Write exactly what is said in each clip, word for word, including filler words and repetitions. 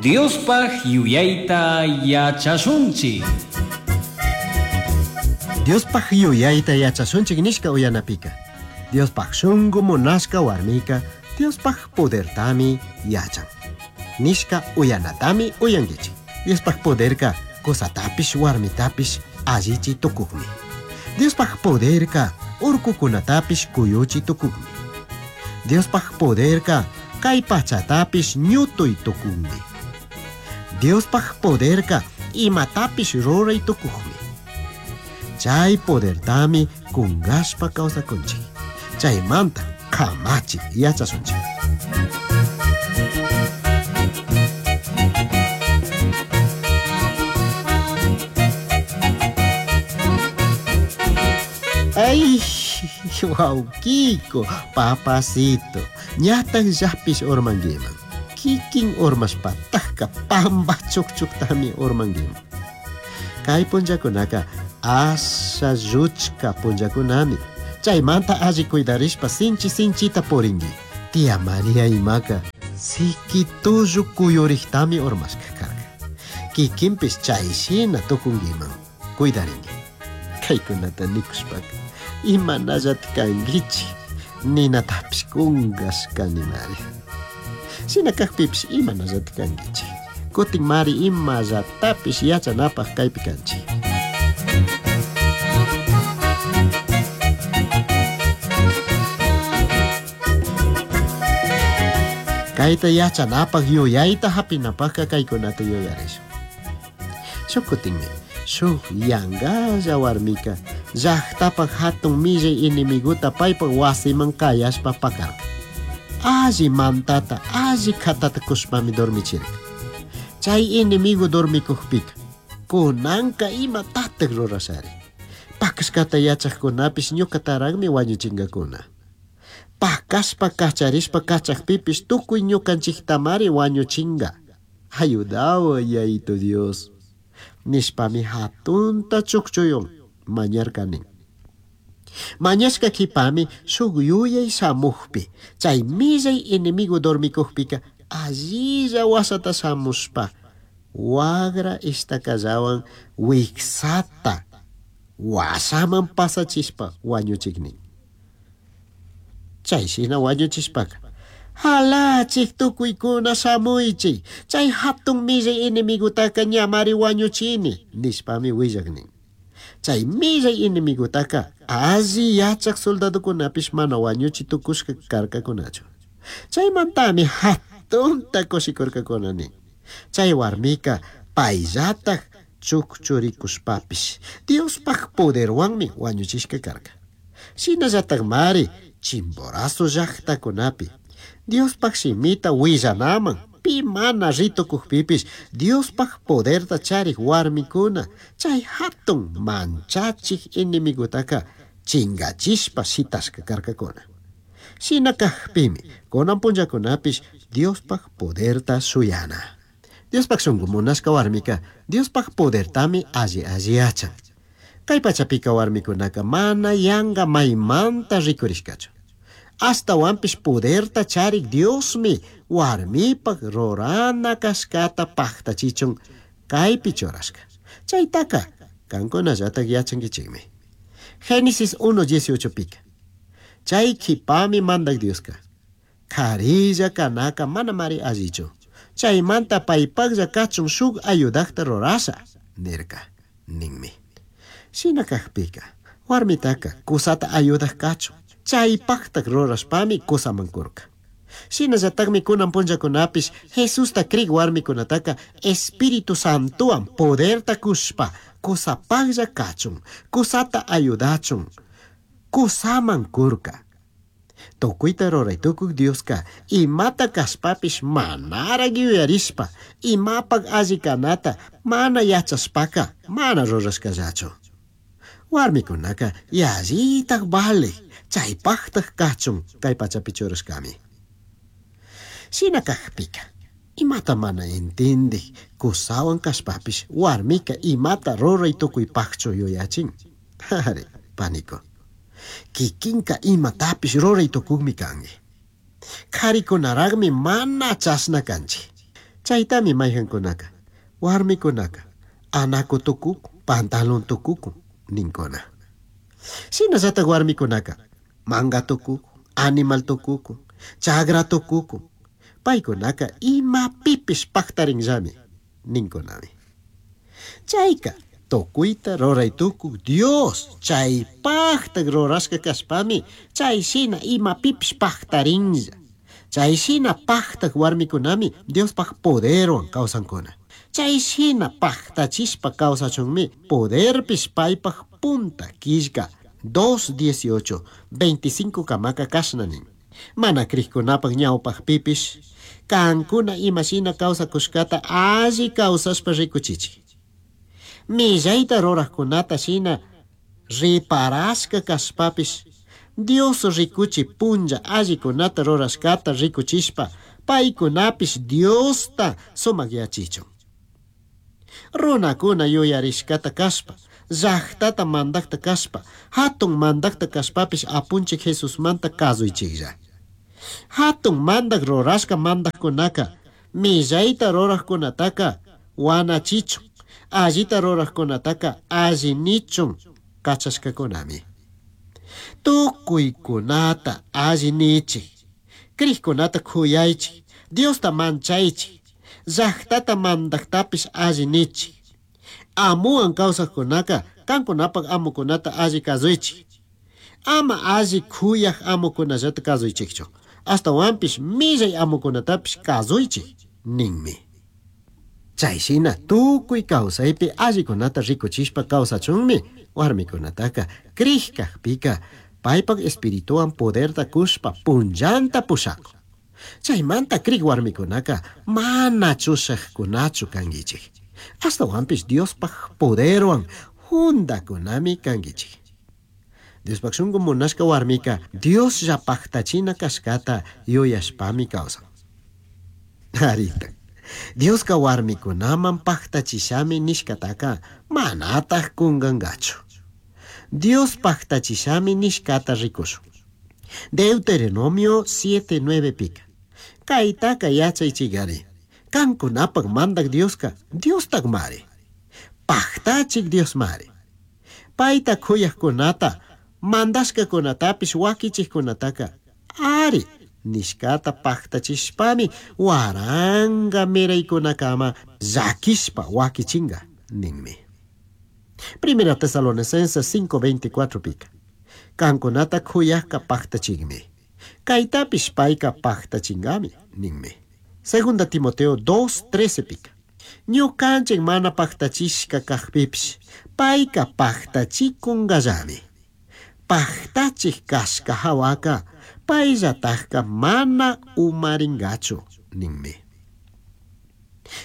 Diospaj yuyayta yachashunchik. Diospaj yuyayta yachashunchik nishka uyanapika. Diospaj shungu munashka warmika Diospaj podertami yachan. Nishka uyanatami uyankichik. Diospaj poderka kusatapish warmitapish allichi tukukmi. Diospaj poderka urkukunatapish kuyuchi tukukmi. Diospaj poderka kay pachatapish ñutuy tukukmi. Diospaj poderka imatapish ruray tukukmi. Chay podertami kungashpa kawsakunchik. Chaymanta kamachi yachasunchik. Ay, wawkiko, papacito, ñataq llaqpish urmankiman. Kikin urmashpataqqa pampa chukchuktami urmankiman. Kay punllakunaka asha lluchka punllakunami. Chaymanta alli cuidarishpa sinchi sinchita purinki. Tía María imaka siki tullu kuyuriqtami urmashka karka. Kikinpish chayshina tukunkiman. Cuidarinki. Kaykunata nikushpaka imanallata kankichik ninatapish kunkashkanimari. Shina kaqpipish imanallata kankichik. Kutin mari imallatapish yachanapaq kaypi kanchik. Kayta yachanapaq yuyayta hapinapaqqa kaykunata yuyarishun. Shuk kutinmi shuk yankalla warmika llaqtapaq hatun millay enemiguta paypaq wasiman kayashpa pakarka. Alli mantata, alli khatata kushpami dormichirka. Chay enemigo dormikukpika kunanka imatataq rurashari. Pakashkata yachaqkunapish ñukataraqmi wañuchinkakuna. Pakashpa kacharishpa kachaqpipish tukuy ñukanchiktamari wañuchinga. Ayudawa yayito Dios. Nishpami hatunta chukchuyun mañarkanin. Mañashka qhipami shuk yuyay shamuqpi chay millay enemigo dormikukpika allilla wasata shamushpa wagra ishtakallawan wiksata washaman pasachishpa wañuchiknin. Chay shina wañuchishpaka halachik tukuykuna shamuychik chay hatun millay enemigutaka ñamari wañuchini nishpami willaknin. Chay millay enemigutaka alli yachaq soldadukunapish mana wañuchi tukushka karkakunachu. Chaymantami hatunta kushikurkakuna nin. Chay warmika payllataq chukchurikushpapish Diospaj poderwanmi wañuchishka karka. Shinallataqmari Chimborazo llaqtakunapi Diospaj shimita willanaman pi mana ritukukpipish Diospaj poderta charik warmikuna chay hatun manchachik enemigutaka chingachishpa shitashka karkakuna. Shina kaqpimi kunan punllakunapish Diospaj poderta shuyana. Diospaj shunku munashka warmika Diospaj podertami alli alli yachan. Kay pachapika warmikunaka mana yanka maymanta rikurishkachu. Ashtawanpish poderta charik Diosmi warmipaq rurana kashkata paqtachichun kaypi churashka. Chaytaka kankunallataq yachankichikmi. Génesis uno dieciocho pika. Chay qhipami mandak Dioska. Karilla kanaka mana mari allichu. Chaymanta paypaqlla kachun shuk ayudaqta rurasha nirka ninmi. Shina kaqpika warmitaka kusata ayudaq kachun. Chaypaqtaq rurashpami kusaman kurka. Shinallataqmi kunan punllakunapish Jesusta krik warmikunataka Espíritu Santowan poderta kushpa kusapaqlla kachun, kusata ayudachun, kusaman kurka. Tukuyta ruray tukuq Dioska imata kashpapish manaraq yuyarishpa imapaq alli kanata mana yachashpaka mana rurashkallachu. Warmikunaka yallitaq vale chaypaqtaq kachun kay pachapi churashkami. Shina kaqpika imata mana intindik kusawan kashpapish warmika imata ruray tukuypaqchu yuyachin. Ari, paniko. Kikinka imatapish ruray tukukmi kanki. Qharikunaraqmi mana chashna kanchik. Chaytami mayqankunaka, warmikunaka, anaku tukukun, pantalón tukukun ninkuna. Shinallatak warmikunaka, manga tukukun, animal tukukun, chagra tukukun. Paykunaka imapipish paqtarinllami ninkunami. Chayka tukuyta ruray tukuk Dios chaypaqtak rurashka kashpami chay shina imapipish paqtarinlla. Chay shina paqtak warmikunami Diospaq poderwan kawsankuna. Chay shina paqtachishpa kawsachunmi poderpish paypaq punta killka dos dieciocho veinticinco kamaka kashna nin. Mana krikkunapaq ñawpaqpipish kankuna imashina kawsakushkata alli kawsashpa rikuchichik. Millayta ruraqkunata shina riparashka kashpapish Dios rikuchi punlla allikunata rurashkata rikuchishpa paykunapish Diosta sumakyachichun. Runakuna yuyarishkata kashpa, llaqtata mandaqta kashpa, hatun mandaqta kashpapish apunchik Jesusmanta kasuychiklla. Hatun mandaq rurashka mandaqkunaka millayta ruraqkunataka wanachichun, allita ruraqkunataka allinichun kachashkakunami. Tukuykunata allinichik, krikkunata khuyaychik, Diosta manchaychik, llaqtata mandaqtapish allinichik. Amuwan kawsaqkunaka kankunapaq amukunata alli kasuychik. Ama alli khuyaq amukunallata kasuychikchu, astawanpish millay amukunatapish kasuychik ninmi. Chay shina tukuy kawsaypi allikunata rikuchishpa kawsachunmi warmikunataka krik kaqpika paypaq espirituwan poderta kushpa punllanta pushakun. Chaymanta krik warmikunaka mana chushaqkunachu kankichik. Astawanpish Diospaq poderwan jundakunami kankichik. Diospaq shunku munashka warmika Dioslla paqtachina kashkata yuyashpami kawsan. Arita, Dioska warmikunaman paqtachishami nishkataka manataq kunkankachu. Dios paqtachishami nishkata rikushun. Deuteronomio siete nueve pika. Kaytaka yachaychikari. Kankunapaq mandaq Dioska Diostaqmari. Paqtachik Diosmari. Payta khuyaqkunata, mandashkakunatapish wakichikkunataka ari nishkata paqtachishpami waranqa miraykunakama llakishpa wakichinqa ninmi. Primera Tesalonicenses cinco veinticuatro pika. Kankunata khuyaqqa paqtachikmi. Kaytapish payka paqtachinkami ninmi. Segunda Timoteo dos trece pika. Ñukanchik mana paqtachishka kaqpipish payka paqtachikunkallami. Paqtachik kashka hawaka payllatakka mana umarinkachu ninmi.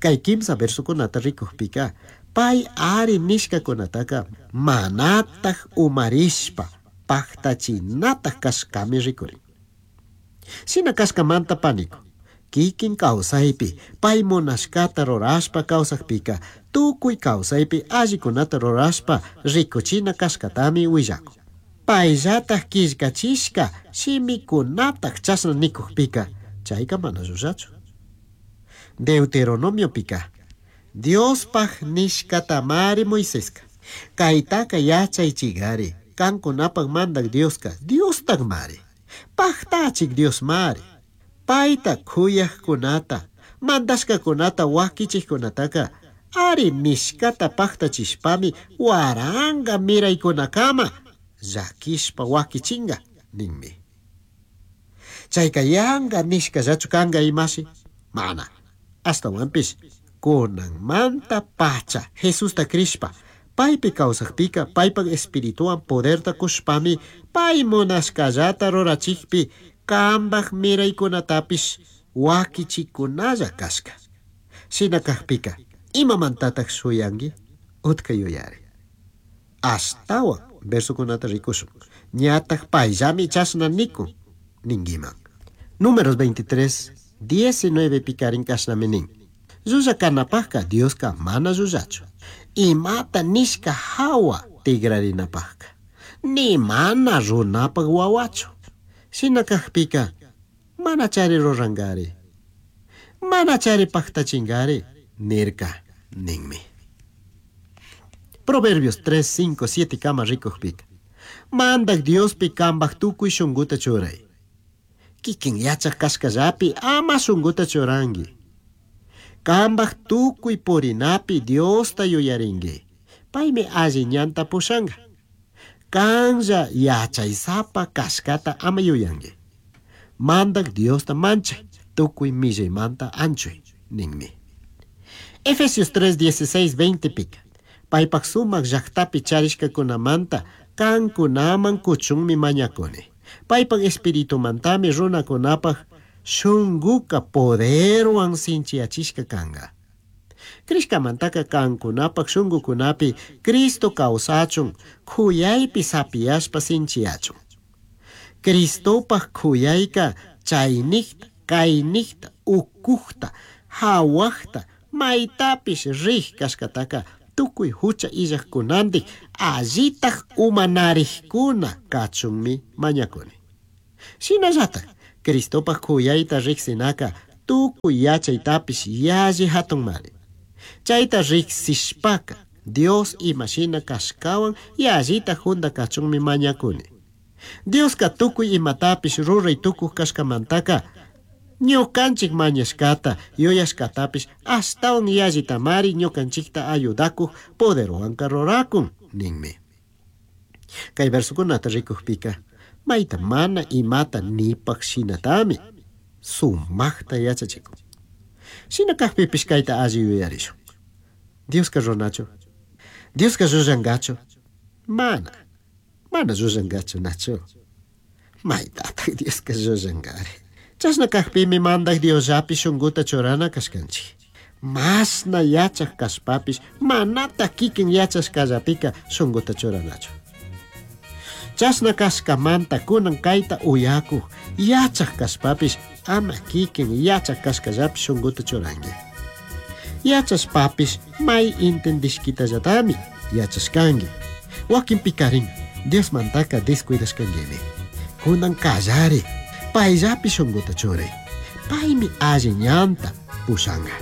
Kay kimsa versokunata rikukpika pay ari nishkakunataka manataq umarishpa paqtachinataj kashkami rikurin. Shina kashkamanta paniku, kikin kawsaypi pay munashkata rurashpa kawsakpika tukuy kawsaypi allikunata rurashpa rikuchina kashkatami willakun. Payllataj killkachishka shimikunataj chashna nikukpika chayka mana llullachu. Deuteronomiopika Diospaj nishkatamari Moiseska. Kaytaka yachaychikari kankunapaq mandaq Dioska Diostaqmari. Paqtachik Diosmari. Payta khuyaqkunata, mandashkakunata wakichikkunataka ari nishkata paqtachishpami waranqa miraykunakama llakishpa wakichinqa ninmi. Chayka yanqa nishkallachu kanqa imashi? Mana. Astawanpish kunanmanta pacha Jesusta krishpa paypi kawsaqpika paypaq espirituwan poderta kushpami pay munashkallata rurachikpi kambaq miraykunatapish wakichikunalla kashka. Shina kaqpika imamantataq shuyanki? Utka yuyari. Ashtawan versokunata rikushun. Ñataq payllami chashna nikun ninkiman. Números veintitrés, diecinueve pikarin kashnami nin. Llulla kanapaqka Dioska mana llullachu. Imata nishka hawa tikrarinapaqka. Ni mana runapaq wawachu. Shina kaqpika mana chari rurankari. Manachari pajtachingari nirka ninmi. Proverbios tres, cinco, siete kama rikujpika. Mandak Diospi kambaj tukuy shunguta churay. Kikin yachaj kashkallapi ama shunguta churanki. Kambaj tukuy purinapi Diosta yuyarinki. Paymi alli ñanta pushanka. Kanlla yachaysapa kashkata ama yuyanki. Mandak Diosta manchay, tukuy millaymanta anchuy, ninmi. Efesios tres, dieciséis, veinte pika. Paypak sumak llaktapi charishkakunamanta kankunaman kuchunmi mañakuni. Paypak espiritumantami runakunapak shunguka poderwan sinchiyachishka kanka. Crishkamantaka kankunapak shungukunapi Cristo kawsachun, kuyaypi sapiyashpa sinchiyachun. Cristopak kuyayka chaynikta, kaynikta, ukukta, hawakta, maytapish rij kashkataka tukuy hucha illajkunantik allitaj umanarikkuna kachunmi mañakuni. Shinallatak Cristopak kuyayta riksinaka tukuy yachaytapish yalli hatunmari. Chayta riksishpaka Dios imashina kashkawan yallita junda kachunmi mañakuni. Dioska tukuy imatapish ruray tukuj kashkamantaka ñukanchik mañashkata yuyashkatapish ashtawan yallitamari ñukanchikta ayudakuj poderwanka rurakun ninmi. Kay versokunata rikujpika mayta mana imata nipaj shinatami sumaqta yachachikun. Shina kajpipish kayta alli yuyarishun. Dioska runachu? Dioska llullankachu? Mana. Mana llullankachu nachu. Maytataq Dioska llullankari. Chashna kajpimi mandak Diosllapi shunguta churana kashkanchik. Mashna yachaj kashpapish manata kikin yachashkallapika shunguta churanachu. Chashna kashkamanta kunan kayta uyakuj yachaj kashpapish ama kikin yachaj kashkallapi shunguta churanki. Yachashpapish may intendishkitallatami yachashkanki. Wakinpikarin Diosmantaka descuidashkankimi. Kunan kallari payllapi shunguta churay. Paymi alli ñanta pushanka.